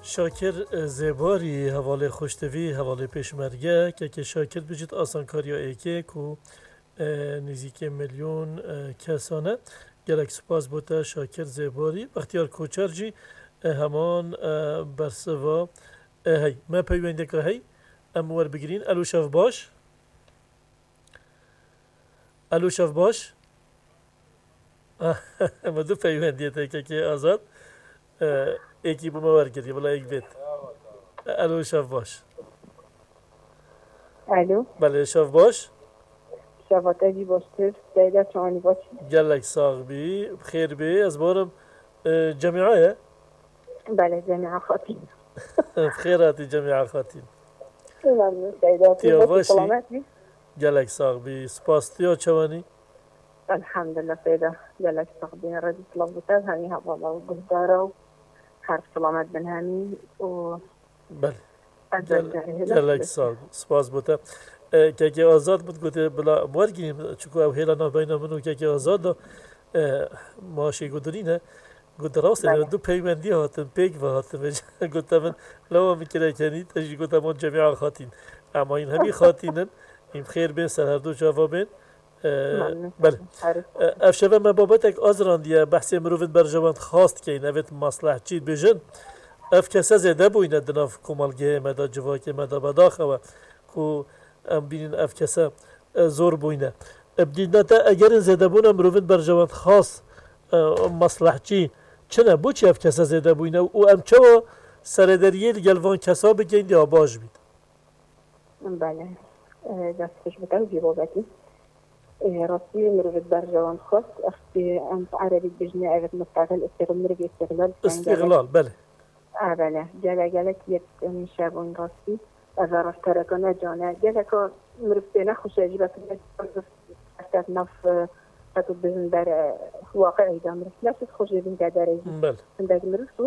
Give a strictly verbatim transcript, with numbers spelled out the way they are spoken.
Şakir, e, Zêbarî, hevalê xweştivî, hevalê pêşmerge, kekê Şakir bijît asankariya êkê ku, e, nêzîkê milyon, e, kesan e. Gelek spas bo te Şakir Zêbarî. Bextiyar Koçer jî, e, heman, e, bersiva, e, hey. Me peywendeka hey, em werbigirîn. Elo, şev baş. Elo, şev baş. Me du peywendiyê te kekê Azad. E, êkî bo me wergirî, bila êk bêt. Elo, şev baş. Alo. Belê, şev baş. Şeva te jî baştir. Seyda, çawanî baş? Gelek sax bî, xêr bî. Ez barim, e, cemîa ye? Belê, cemîa xatî. Xêr hatî cemîa xatî. Memnun Seyda. Tiya baş î? Selamet bî. Gelek sax bî. Spas, tiya çawanî? Elhamdulillah Seyda. Gelek sax bî. Redî silav bo te, hemî hevala û guhdara û her silamet bin hemî û Belê. Gelek sax bî. Spas bo te. E, kekê Azad min gotê bila wergirîm, çunku ew hêla navbeyna min û kekê Azad da, e, maşê ku dirîne. Got, rast e, du peywendî hatin, pêk ve hatin. Gote min, lawa min kire kenî, te jî gote, man cemîa xatîn. Ema hîn hemî xatîn in, hîn xêr bên ser her du çava bên. E, belê. E, ev şeve me babetek azirandiye, behsê mirovên berjewend xas dikeyin, evêt maslehçî dibêjin. Ev kese zêde bûyne di nav komelgehê me de, civakê me de, bedaxewe ku em bînin ev kese, e, zor bûyne. E, bi dîna te egerên zêdebûna mirovên berjewend xas, e, maslehçî çi ne? Boçî ev kese zêde bûyne û em çawa serederiyê li gel van kesa bikeyin diya baş bît? Belê. E, dest xweş bike, jî babetî. E, rastî mirovê berjewend xwest, ev, e, em bi erebî dibêjine, evet, mustaqil, istiqlal, mirovê istiqlal, Îstîqlal, belê. E, belê. Gele, gelek yek, em, şevon rastî. Ev rasttereka ne cane. Geleka mirov pê nexweş e, ji ber ku ne ser nav, e, qet û bizin ber, e, waqi'î de mirov. Ne siz xweş dibin de derê jî. Belê. Hindek mirov